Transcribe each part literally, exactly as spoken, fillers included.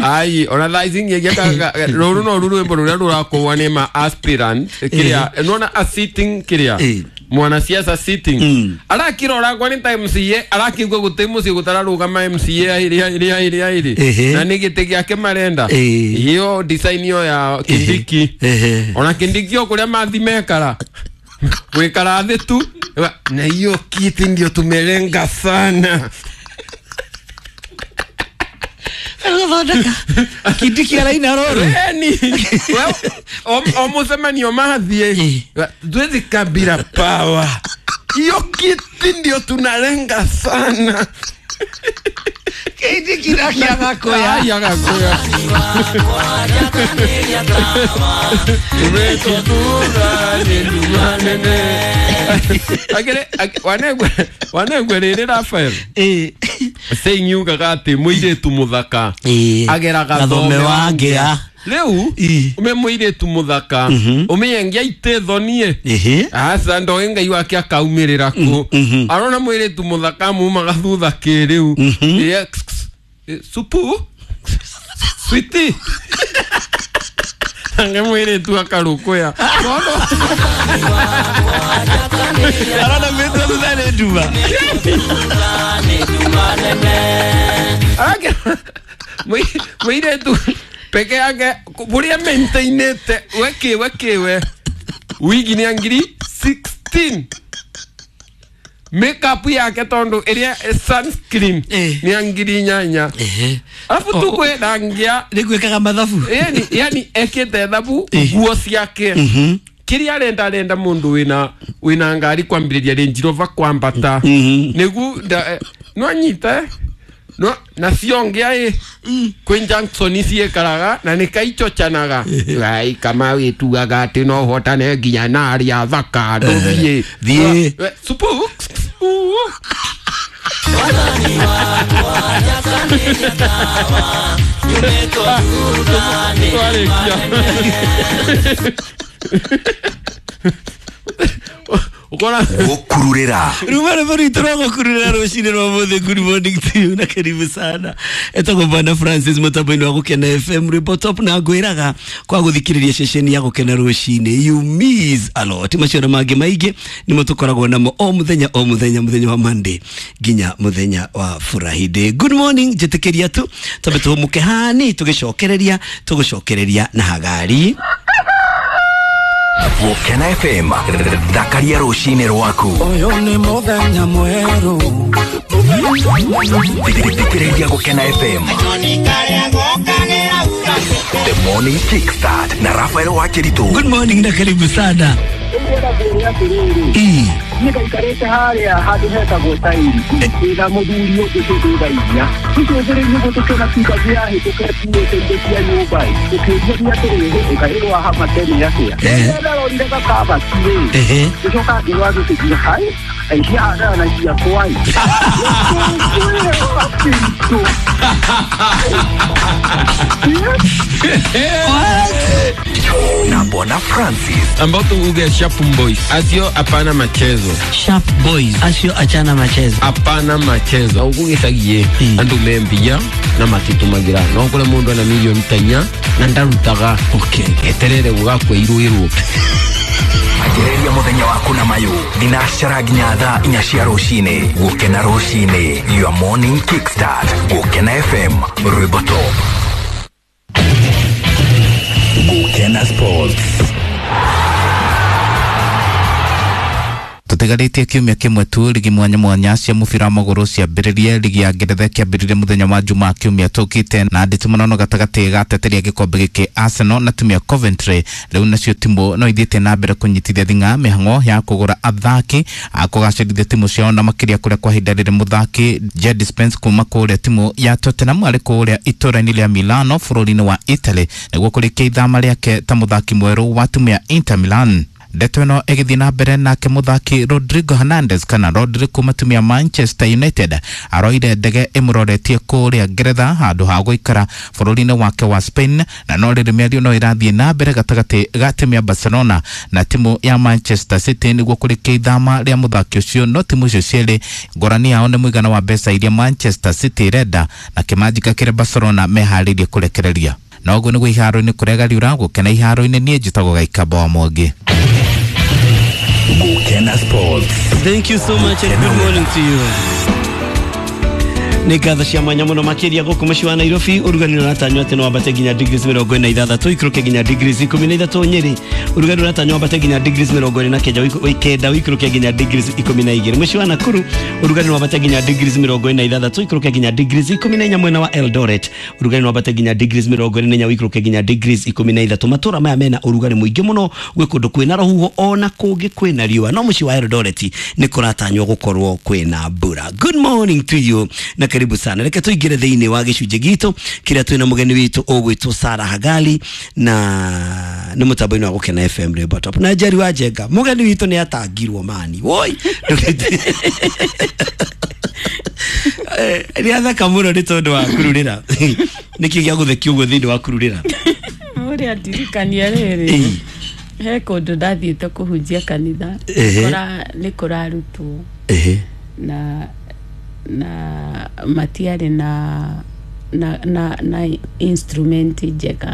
Ai ona thaa ici ngĩgia rũrũ no rũ rwĩmbo rũrĩa rũrakũwa nĩ ma aspirant kĩrĩa nona a sitting kĩrĩa Eh. mwanasiasa sitting Mm. arakirora kwa nĩ ta M C A arakiigua gũtĩ mũciĩ gũtararũgama M C A aĩrĩ aĩrĩ aĩrĩ aĩrĩ Ehe. na nĩ gĩtĩ gĩake marenda Eh. iyo design iyo ya Kindiki Ehe. ona Kindiki o kũrĩa mathi mekara gwikara thĩ tu na hiyo kiti ndio tumelenga sana. Gũthondeka Kindiki araina rũrũ. Eni o mũcemanio mathiĩ twezi Kabila power, hiyo kiti ndio tunalenga sana. Kindiki nake agakoya. Ai, agakoya. Agere wanegwe wanegwe rĩrĩ Rafael Eh. saying yugaga atĩ mũirĩtu mũthaka Eh. ageraga Gathome wa ngĩa. rĩu Ĩ. ũme mũirĩtu mũthaka ũmĩengia itĩ thonie Ehe. aca ndoĩ Ngai wake akaumĩrĩra kũ arona mũirĩtu mũthaka mumaga thutha kĩrĩu Ĩ, ĩ, supu switi ange mũirĩtu akarũkũya Tondũ Arona mĩtwe thutha nĩ nduma. Arake mũirĩtu peke yake buria maintainĩte we kĩwe kĩwe wigi nĩ ngiri sixteen makeup yake tondu ĩrĩa sunscreen Eh. nĩ ngiri inyanya Ehe. alafu O- tukwĩ ngia Nĩ gwĩkaga mathabu. yani yani ekĩte thabu Eh. nguo ciake Mhm. kĩrĩa arenda arenda mũndũ wĩna wĩna ngari kwambĩrĩria Range Rover kwambata Mhm. nĩgu no anyite no na ciongia ĩ kwĩ junction ciĩkaraga na nĩ kaichochanaga ai kama wĩtuaga atĩ no ũhotane nginya na arĩa thaka ndũthiĩ Thiĩ. supu twarĩkia ukora Gũkururĩra Ruma rwĩmbo rwitũ rwa gũkururĩra rũcinĩ rwa ũmũthĩ. Good morning to you na karibu sana. Etagwo Bwana Francis mũtambo-inĩ wa Gũkena F M rwĩmbo top na ngwĩraga kwa gũthikĩrĩria ceceni ya Gũkena rũcinĩ you miss a lot. Macio na mangĩ maingĩ nĩmo tũkoragwo namo o mũthenya o mũthenya, mũthenya wa Monday nginya mũthenya wa Friday. Good morning, njĩtĩkĩria tu twambe tũhũmũke hani tũgĩcokereria tũgũcokereria na hagari. Gũkena F M thakaria rũcinĩ rwaku. Ũyũ nĩ mũthenya mwerũ. Thikĩrĩria Gũkena F M The Morning Kickstart na Rafael Wakiritu. Good morning na karibu sana. Ĩ. Nĩngaikarĩte harĩa handũ hetagwo tairi ĩna mũthuri ũngĩ tũtũthaithia tũcũthĩrĩirie ũguo tũkĩona pikabu yahĩtũka ĩkuĩte indo cia nyũmba ĩ tũkĩũria atĩrĩrĩ ĩkaĩrwo hama tene atĩa Eh. ndarorire gakabati rĩ Ehe. ngĩcoka ngĩrwo ngĩtĩkia hai aiciahanaga na ciakwa ĩ Na Bwana Francis ambao tuuge Sharp Boys acio hapana machezo. Sharp Boys acio achana machezo. Hapana machezo ũgũgĩcagie Mm. andũ membia na matitũmagĩra no kũrĩ mũndũ ana milioni ta inya na ndarutaga Okay. eterere gũgakua irũĩrwo. Anjĩrĩria mũthenya waku na mayũ thinacara nginya thaa inya cia rũcinĩ. Gũkena rũcinĩ your morning kickstart. Gũkena F M rwĩmbo top. Gũkena Sports. Tũtigarĩtie kiumia kĩmwe tu ligi mwanya mwanya cia mũbira wa magũrũ ciambĩrĩrie. Ligi ya Ngeretha kĩambĩrĩrie mũthenya wa Jumaa kiumia tũkĩte na nditimũrano gatagatĩ ga ateteria gĩkombe gĩkĩ Arsenal na timu ya Coventry. Rĩu nacio timu no ithiĩte na mbere kũnyitithia thing'a mĩhang'o ya kũgũra athaki a kũgacĩrithia timu ciao na makĩria kũrĩa kwa ihinda rĩrĩ mũthaki Jed Spence kuma kũrĩa timu ya Tottenham arĩ kũrĩa itũũra-inĩ rĩa Milano bũrũri-inĩ wa Italy nĩguo kũrĩkia ithama rĩake ta mũthaki mwerũ wa timu ya Inter Milan. Ndeto ĩno ĩgĩthiĩ na mbere nake mũthaki Rodrigo Hernandez kana Rodri kuma timu ya Manchester United aroire ndege ĩmũroretie kũrĩa Ngeretha handũ ha gũikara bũrũri-inĩ wake wa Spain, na no rĩrĩ mĩario no ĩrathiĩ na mbere gatagatĩ ga timu ya Barcelona na timu ya Manchester City nĩguo kũrĩkia ithama rĩa mũthaki ũcio. No timu icio cierĩ ngũrani yao nĩ mũigana wa mbeca iria Manchester City ĩrenda na kĩmanjika kĩrĩa Barcelona meharĩirie kũrekereria. Na ũguo nĩguo iharo-inĩ kũrĩa gũkena iharo-inĩ. Niĩ njĩtagwo Gaikamba wa Mwangi. Gukena Sports. Thank you so much and good morning to you. Nĩ ngatho cia mwanya mũno makĩria gũkũ mũciĩ wa Nairobi. Ũrugarĩ ũratanywo atĩ no wambate nginya degrees mĩrongo ĩna na ithathatũ, ikũrũke nginya degrees ikũmi na ithatũ Nyĩrĩ. Ũrugarĩ ũratanywo wambate nginya degrees mĩrongo ĩrĩ na kenda, kenda ũikũrũke nginya degrees ikũmi na igĩrĩ. Mũciĩ wa Nakuru ũrugarĩ no wambate nginya degrees mĩrongo ĩna na ithathatũ, ikũrũke nginya degrees ikũmi na inya. Mwena wa Eldoret ũrugarĩ no wambate nginya degrees mĩrongo ĩrĩ na inya, ũikũrũke nginya degrees ikũmi na ithatũ. Matũra maya mena ũrugarĩ mũingĩ mũno, gwĩ kũndũ kwĩna rũhuho ona kũngĩ kwĩna riũa, no mũciĩ wa Eldoret nĩ kũratanywo gũkorwo kwĩna mbura. Good morning to you na karibu sana. Reke tuingire thiini wa gicunjĩ gitũ kĩrĩa twĩna mũgeni witũ ũgwĩtwo Sarah Hagali na nĩ mũtambo-inĩ wa Gũkena F M Rainbow Top. Na Njeri wa Njenga, mũgeni witũ nĩ atangirwo mani woi nĩ athaka mũno nĩ tondũ wa kururĩra. Nĩkĩ gĩa gũthekia ũguo thĩinĩ wa kururĩra? Ũrĩa ndirikania rĩrĩ, he kũndũ ndathiĩte kũhunjia kanitha, nĩ kũrarutwo na na matiarĩ na na na na instrument njega.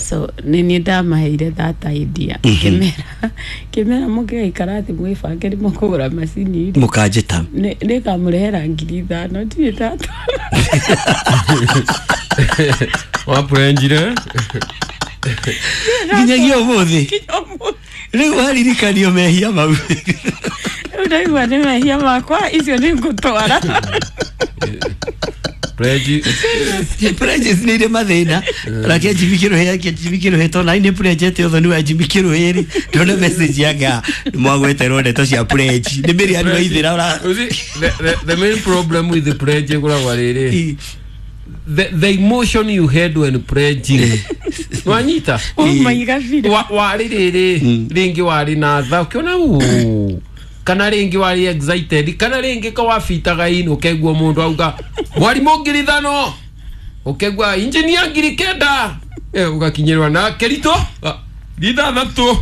So nĩ niĩ ndamaheire that idea, kĩmera kĩmera mũngĩgaikara thĩ mwĩbange nĩ mũkũgũra macini rĩ mũkanjĩta nĩngamũrehera ngiri ithano ndirĩ ndatwara. Wapurenjire nginyagia ũmũthĩ rĩu waririkanio mehia mau. Rĩu ndaigua nĩ mehia makwa icio nĩ ngũtwara. Pledges nĩ irĩ mathĩna. Rake Jimmy Kĩrũhĩ, Jimmy Kĩrũhĩ tondũ nĩ pledgete ũthoni wa Jimmy Kĩrũhĩ rĩ, ndona message yake nĩ mwagweterwo ndeto cia pledge nĩ mĩrĩani waithĩra ũra. The main problem with the pledge ĩkoragwo rĩrĩ, the the emotion you had when pledging wanyita warĩ rĩrĩ rĩngĩ warĩ na tha ũkĩona uu kana rĩngĩ warĩ excited kana rĩngĩ ka wabitaga ini ũkaigua mũndũ auga mwarimũ ngiri ithano ũkaigua engineer ngiri kenda ũgakinyĩrwa na Kerito ithathatũ.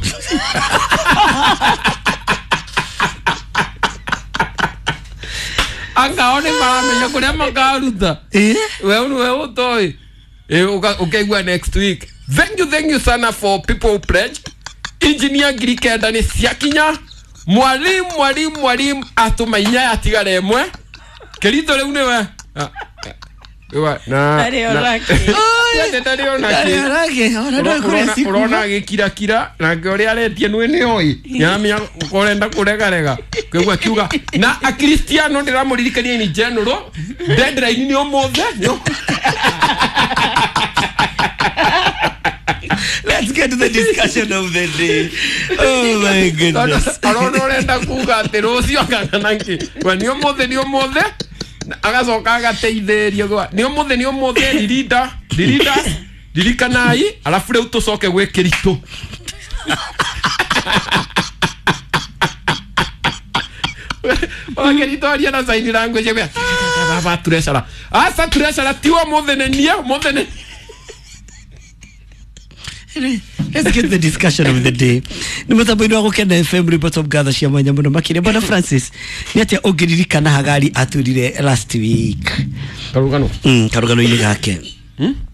Angao nĩ maramenya kũrĩa makaruta we we ũtoĩ ũkaigua next week. Thank you, thank you sana for people who pledged. Engineer ngiri kenda nĩ ciakinya. Mwalimu, mwalimu, mwalimu atũma inya yatigara ĩmwe. Kerito rĩu nĩwe ũrona agĩkirakira nake ũrĩa aretie nĩ nĩoĩ nĩaramenya ũrenda kũregarega kĩguo akiuga na akristiano ndĩramũririkania in general deadline nĩ ũmũthĩ. Let's get to the discussion of the day. Oh my goodness. Arona ũrenda kuga atĩ rũciũ kana nakĩ we nĩ ũmũthĩ nĩ ũmũthĩ agacoka agateithĩrĩrio gwa nĩ ũmũthĩ nĩ ũmũthĩ ririnda ririnda ririkanai alafu rĩu tũcoke gwĩ Kĩritũ. Ona Kĩritũ aria na sign language gwa baba turecara asa turecara ti ũmũthĩ nĩ niĩ ũmũthĩ nĩ. Let's get the discussion of the day. Nĩ mũtambo-inĩ wa Gũkena F M Report of Gather cia mwanya mũno makĩria. Bwana Francis, nĩ atĩa ũngĩririkana Hagari atwĩrire last week? Karugano. Mm, karugano-inĩ gake.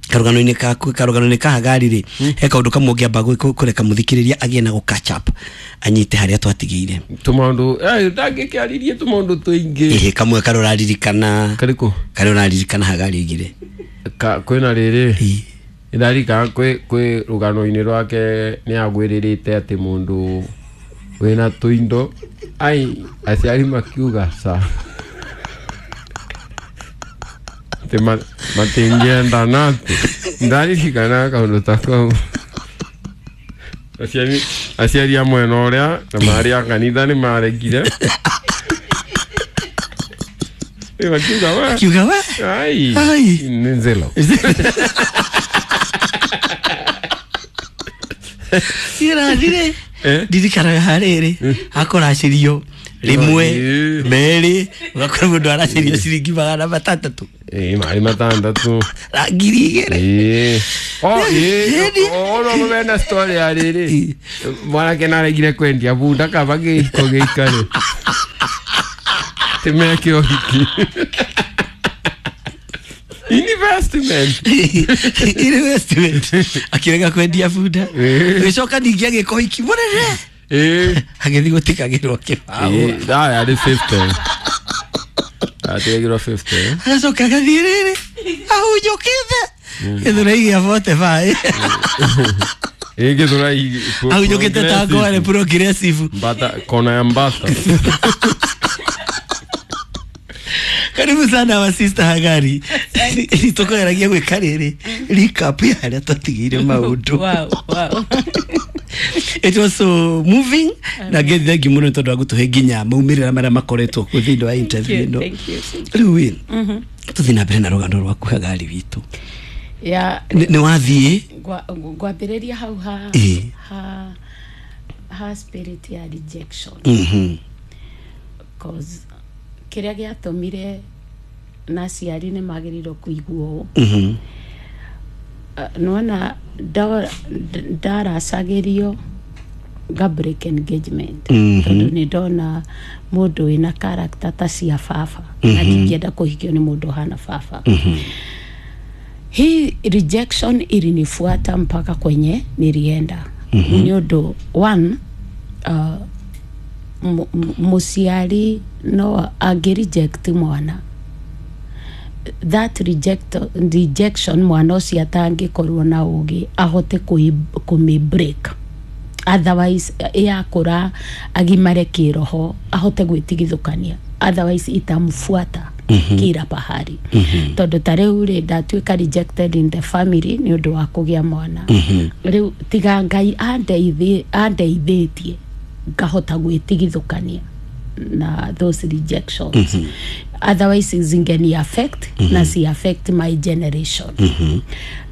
Karugano-inĩ kaku, karugano-inĩ ka Hagari rĩ, he kaũndũ kamwe ũngĩamba kũreka mũthikĩrĩria agĩe na gũ catch up anyite harĩa twatigĩire. Tũmaũndũ, eh ndangĩkĩarĩrie tũmaũndũ tũingĩ. Ĩhĩ, kamwe karĩa ũraririkana. Karĩkũ? Karĩa ũraririkana Hagari oigire. Ka kwĩna rĩrĩ. Ndarika kwĩ kwĩ rũgano-inĩ rwake nĩ agwĩrĩrĩte atĩ mũndũ wĩna tũindo ai aciari makiuga ca atĩ matingĩendana atĩ ndaririkana kaũndũ ta kau. Aciari aciari a mwena ũrĩa na marĩ a kanitha nĩ maregire. Makiuga we makiuga we ai nĩ nzelo. Irathire Ndirikanaga harĩrĩ hakũracĩrio rĩmwe merĩ ũgakora mũndũ aracĩrio ciringi magana matandatũ. Ĩĩ marĩ matandatũ na ngiri igĩrĩ. Ĩĩ o ĩĩ ono mena story ya rĩrĩ mwanake naregire kwendia bunda kaba gĩiko gĩikare timeke ũhiki. Investment. Investment. Akirega kwendia bunda. Gĩcoka ningĩ agĩka ũhiki mũnene. Ĩĩ agĩthiĩ gũtikagĩrwo kĩbaũ. Ĩĩ yarĩ fifty. Atigagĩrwo fifty. Agacoka agathiĩ rĩrĩ ahunjũkĩte gĩthũrai gĩa forty five. Ĩĩ gĩthũrai ahunjũkĩte ta ngware progressive. Mbata kona ya mbata. Karibu sana wa sister Hagari. Tukageragia gwĩka rĩrĩ recap ya harĩa twatigĩire maũndũ. Wow, wow. It was so moving na ngethi thengi mũno tondũ wa gũtũhe nginya maumĩrĩra marĩa makoretwo kuo thĩinĩ wa interview ĩno. Thank you. Rĩu ĩ tũthiĩ na mbere na rũgano rwaku Hagari witũ. Ya nĩ wathiĩ ngwambĩrĩria hau ha ha ha spirit ya rejection. Mhm. Cause kĩrĩa gĩatũmire na aciari nĩ magĩrĩirwo kũigua ũũ. Mhm. Nĩwona ndaracagĩrio nga break engagement. Tondũ nĩ ndona mũndũ wĩna character ta cia baba na ndingĩenda kũhikio nĩ mũndũ ũhana baba. Hii rejection ilinifuata mpaka kwenye nilienda. Nĩ ũndũ one uh, mũciari no angĩ reject mwana, that reject rejection mwana ũcio atangĩkorwo na ũgĩ ahote kũmĩ break, otherwise yakũra agimare kĩroho ahote gwĩtigithũkania, otherwise itamfuata kila pahali. Tondũ ta rĩu rĩ ndatuĩka rejected in the family nĩ ũndũ wa kũgĩa mwana. Rĩu tiga Ngai andeithĩtie ngahota gwĩtigithũkania na those rejections. Mm -hmm. Otherwise zingeni affect mm -hmm. na si affect my generation. Mm -hmm.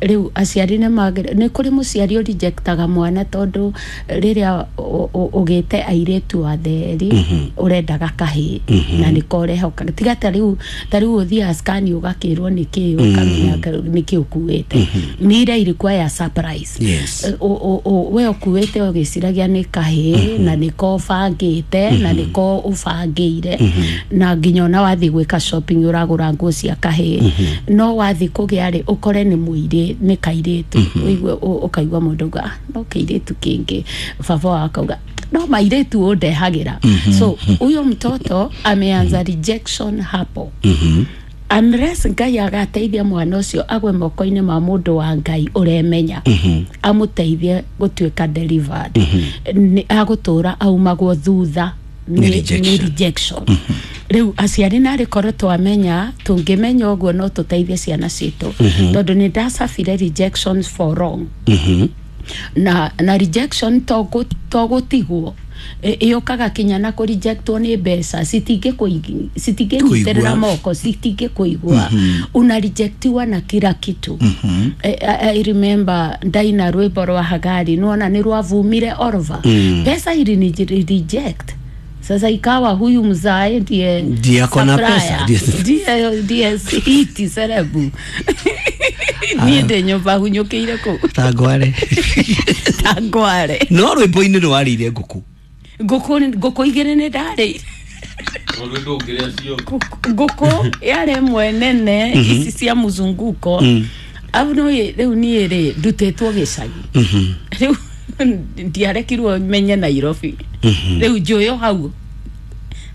Riu aciari nĩ magĩrĩirwo nĩ kũrĩ mũciari ũrejectaga mwana tondũ rĩrĩa ũgĩte airĩtu atheri mm -hmm. ũrendaga kahĩĩ mm -hmm. na nĩko ũrehoka tiga ta rĩu ta rĩu ũthiaga scan ũgakĩrwo nĩkĩĩ ũkamenya nĩkĩĩ ũkuĩte. Mm -hmm. Nĩ ira ilikuwa ya surprise. Yes. We ũkuĩte ũgĩciragia nĩ kahĩĩ mm -hmm. na nĩko ũbangĩte mm -hmm. na nĩko ũbangĩire mm -hmm. na nginya ona wathiĩ gwĩka shopping ũragũra nguo cia kahĩĩ mm -hmm. no wathiĩ kũgĩa rĩ ũkore nĩ mũirĩ nĩ kairĩtu mm -hmm. ũigue ũkaigua mũndũ auga ah, no kairĩtu kĩngĩ baba wakauga no mairĩtu ũndehagĩra. mm -hmm. So huyo mtoto ameanza rejection hapo. mm -hmm. Unless Ngai agateithia mwana ũcio agwe moko-inĩ ma mũndũ wa Ngai ũremenya mm -hmm. amũteithie gũtuĩka delivered mm -hmm. nĩ agũtũra aumagwo thutha Nĩ rejection. rejection. Mm -hmm. Rĩu aciari narĩ korwo twamenya tũngĩmenya ũguo no tũteithie ciana citũ mm -hmm. tondũ nĩ ndacabire rejections for wrong. mm -hmm. na na rejection to gũtigwo ĩyũkaga kinya na kũ rejectwo nĩ mbeca citingĩnyitĩrĩra moko citingĩkũigua. mm -hmm. Una rejectiwa na kila kitu. mm -hmm. I, I remember ndaina rwĩmbo rwa Hagari nĩwona nĩ rwavumire orova. mm. Pesa ili reject. Sasa ikawa huyu mzae ndiye ndiye akona pesa ndiye ndiye iti serebu niĩ ndĩ nyũmba hunyũkĩire kũu ta ngware ta ngware no rwĩmbo-inĩ nĩwarĩire ngũkũ ngũkũ ngũkũ igĩrĩ nĩ ndarĩire ngũkũ yarĩ ĩmwe nene ici cia mzunguko. Au no rĩu niĩ rĩ ndutĩtwo gĩcagi rĩu ndiarekirwo menye Nairobi rĩu njũyũ hau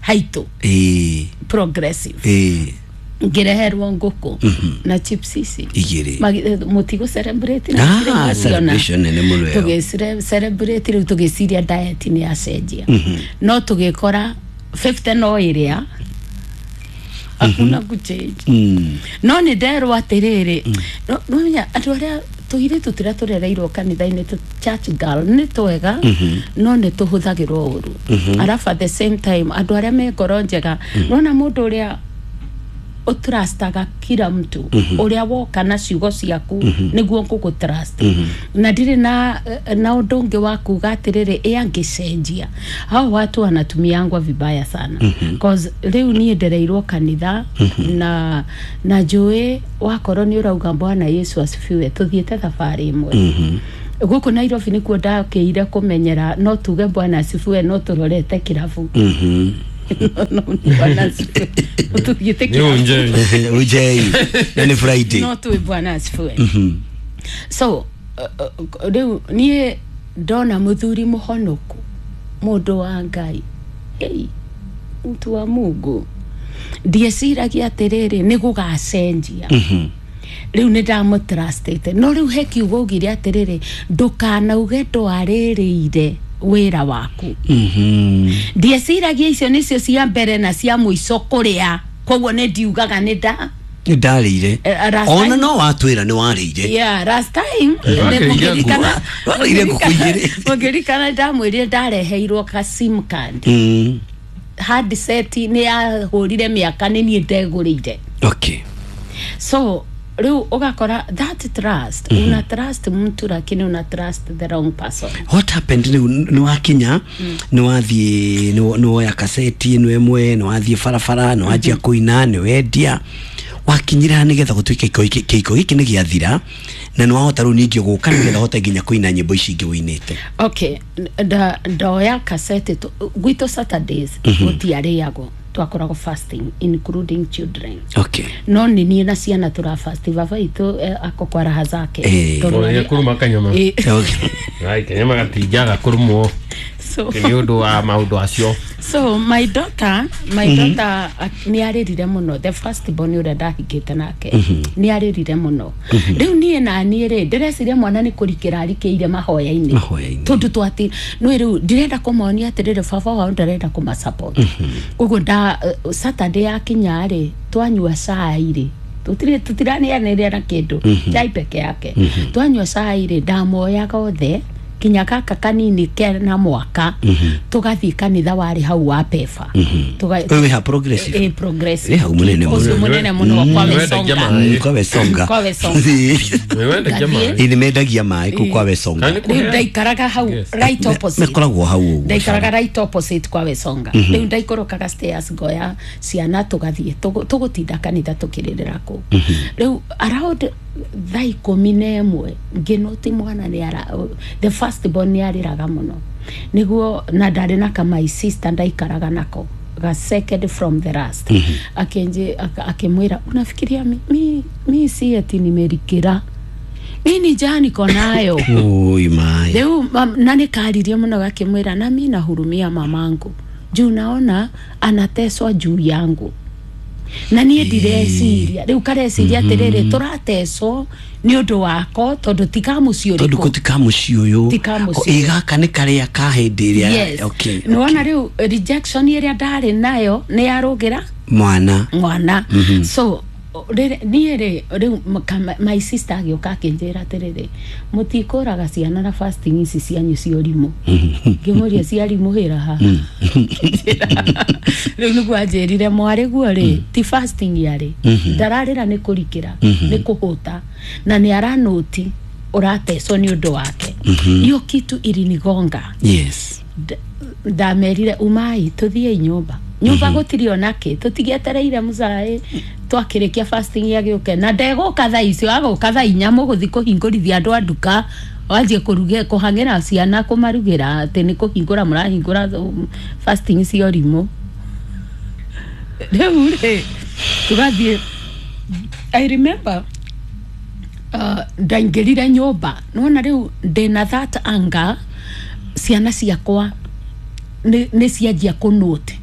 haitũ progressive ngĩreherwo ngũkũ na chips ici igĩrĩ mũtigũ celebrate na celebration nene mũno ĩyo tũgĩ celebrate rĩu tũgĩciria diet nĩ yacenjia no tũgĩkora fifty no ĩrĩa hakuna gũchange. No nĩ nderwo atĩrĩrĩ no andũ arĩa tũirĩtu tũrĩa tũrereirwo kanitha-inĩ tũ church girl nĩ twega no nĩ tũhũthagĩrwo ũru. Arafu at the same time andũ arĩa me ngoro njega nona mũndũ ũrĩa ũtrustaga kila mtu ũrĩa woka na ciugo ciaku nĩguo ngũgũtrust na ndirĩ na na ũndũ ũngĩ wa kuga atĩrĩrĩ ĩ angĩcenjia hao watu wanatumiangwa vibaya sana cause rĩu niĩ ndereirwo kanitha na na njũĩ wakorwo nĩ ũrauga Bwana Yesu asifiwe tũthiĩte thabarĩ ĩmwe gũkũ Nairobi nĩkuo ndakĩire kũmenyera no tuge Bwana asifiwe no tũrorete kĩrabu no Bwana asifiwe tũthiĩte Ni kĩrabu unje. Ujei na nĩ Friday. No tuwe Bwana asifiwe so uh, uh, rĩu niĩ ndona mũthuri mũhonoku mũndũ wa Ngai hey, mtu wa Mungu ndieciragia atĩrĩrĩ nĩ gũgacenjia rĩu nĩ ndamũtrustĩte no rĩu he kiugo ugire atĩrĩrĩ ndũkanauge ndwarĩrĩire wĩra waku ndieciragia icio nĩcio cia mbere na cia mũico kũrĩa koguo nĩ ndiugaga nĩ nda Nĩ ndarĩire. Eh, last Ona time- no watwĩra nĩ warĩire. Yeah, last time Wakĩrĩire mũngĩririkana- ngũkũ. Warĩire ngũkũ igĩrĩ. mũngĩririkana ndamwĩrire ndareheirwo ka sim card Mm. handset nĩ yahũrire mĩaka nĩ niĩ ndegũrĩire Okay. so rĩu ũgakora that trust mm -hmm. una trust mtu lakini una trust the wrong person. What happened rĩu nĩ wakinya nĩ wathiĩ nĩ woya kaseti ĩno ĩmwe nĩ wathiĩ barabara nĩ wanjia kũina nĩ wendia wakinyire ha nĩgetha gũtuĩke kĩhiko gĩkĩ kĩhiko gĩkĩ nĩ gĩathira na nĩ wahota rĩu ningĩ gũka nĩgetha ũhote nginya kũina nyĩmbo ici ingĩ ũinĩte. Okay, nda ndoya kaseti tu- gwitũ Saturdays gũtiarĩagwo twakoragwo fasting including children Okay. no nĩ niĩ na ciana tũrafasti baba itũ eh, ako kwa raha zake Eh. Tondũ Oya arĩ- kuruma kanyama. Eh, Okay. Ai kanyama gatinjaga kurumwo so nĩ ũndũ wa maũndũ acio. so my daughter my mm -hmm. daughter uh, nĩ arĩrire mũno the first born ũrĩa ndahingĩte nake mm -hmm. nĩ arĩrire mũno rĩu niĩ na niĩ rĩ ndĩreciria mwana nĩ kũrikĩra arikĩire mahoya-inĩ Mahoya-inĩ. tondũ twati nĩ rĩu ndĩrenda kũmonia atĩrĩrĩ baba wao ndarenda kũmasupport koguo nda uh, Saturday yakinya rĩ twanyua cai rĩ tũtirĩ tũtiranĩanĩria na kĩndũ chai peke yake twanyua cai rĩ ndamoyaga othe kinya gaka kanini kena mwaka tugathiĩ kanitha warĩ hau wa pefa Tuga- Ũyũ wĩ ha progressive? Eh, progressive Wĩ hau mũnene mũno. Ũcio mũnene mũno kwa Nĩwendagia Wesonga maĩ. Kwa Wesonga. Kwa Wesonga. Nĩwendagia maĩ. Ĩ nĩ mendagia maĩ kũu kwa Wesonga. Kana nĩ rĩu kũheana? ndaikaraga hau Yes. right opposite Mekoragwo hau ũguo. ndaikaraga right opposite kwa Wesonga rĩu ndaikũrũkaga stairs ngoya ciana tũgathiĩ tũgũ- tũgũtinda kanitha tũkĩrĩrĩra kũu rĩu around thaa ikũmi na ĩmwe ngĩnoti mwana nĩ ara the first born nĩ arĩraga mũno nĩguo na ndarĩ na ka my sister ndaikaraga nako ga second from the last akinji aka- akimwĩra unafikiria mi, mi, mi si ati nimerikira mi ni njaa niko nayo. Oi maĩ. Rĩu mam- na nĩ karirie mũno gakĩmwĩra na mi nahurumia mamangu juu naona anateswa juu yangu na niĩ ndireciria rĩu kareciria atĩrĩrĩ tũrateswo nĩ ũndũ wako tondũ ti ka mũciĩ Tondũ ũrĩkũ kũ ti ka mũciĩ ũyũ. Ti ka mũciĩ. Ĩ gaka nĩ karĩa ka hĩndĩ ĩrĩa. Yes. Okay. Nĩwona rĩu rejection ĩrĩa ndarĩ nayo nĩ yarũgĩra Mwana. mwana so rĩrĩ- niĩ rĩ rĩu m- ka- my sister agĩũka akĩnjĩra atĩrĩrĩ mũtikũraga ciana na fasting ici cianyu cia ũrimũ ngĩmũria cia rimũ hĩra ha rĩu nĩguo anjĩrire mwarĩ guo rĩ ti fasting yarĩ ndararĩra nĩ kũrikĩra nĩ kũhũta na nĩ aranũti ũratecwo nĩ ũndũ wake hiyo kitu ilinigonga Yes. D- ndamerire umai tuthiei nyumba nyumba gũtirĩ ona kĩ tũtigĩetereire mũcaĩ twakĩrĩkia fasting agĩũke na ndegũka thaa icio agũka thaa inya mũgũthiĩ kũhingũrithia andũ a nduka wanjie kũruge kũhang'ĩra ciana kũmarugĩra atĩ nĩ kũhingũra mũrahingũra um, fasting cia ũrimũ rĩu rĩ tũgathiĩ I remember uh, ndaingĩrire nyũmba nona rĩu ndĩna that anger ciana ciakwa nĩ nĩ cianjia kũnote